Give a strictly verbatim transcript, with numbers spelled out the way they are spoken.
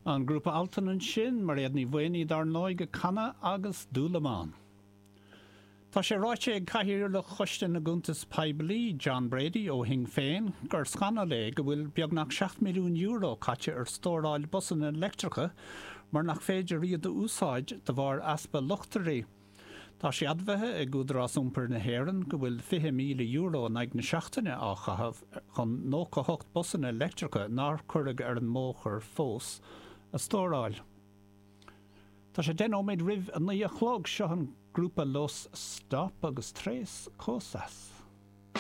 An grúpa Altan ansin Mairéad Ní Mhaonaigh dar ndóigh ag canadh agus Dúlamán. Tá sé ráite ag Cathaoirleach Choiste na gCuntas Poiblí John Brady ó Shinn Féin gur scannal é go bhfuil beagnach seacht milliún euro caite ar stóráil busanna leictreacha mar nach féidir iad a úsáid de bharr easpa luchtairí. Tá sé admhaithe ag Údarás Iompair na hÉireann go bhfuil fiche míle euro in aghaidh na seachtaine á chaitheamh chun nócha hocht busanna leictreacha nár cuireadh ar an mbóthar fós a stóráil. Tá sé deich nóiméad roimh a naoi a chlog seo an grúpa Los Stop agus Tres Cosas.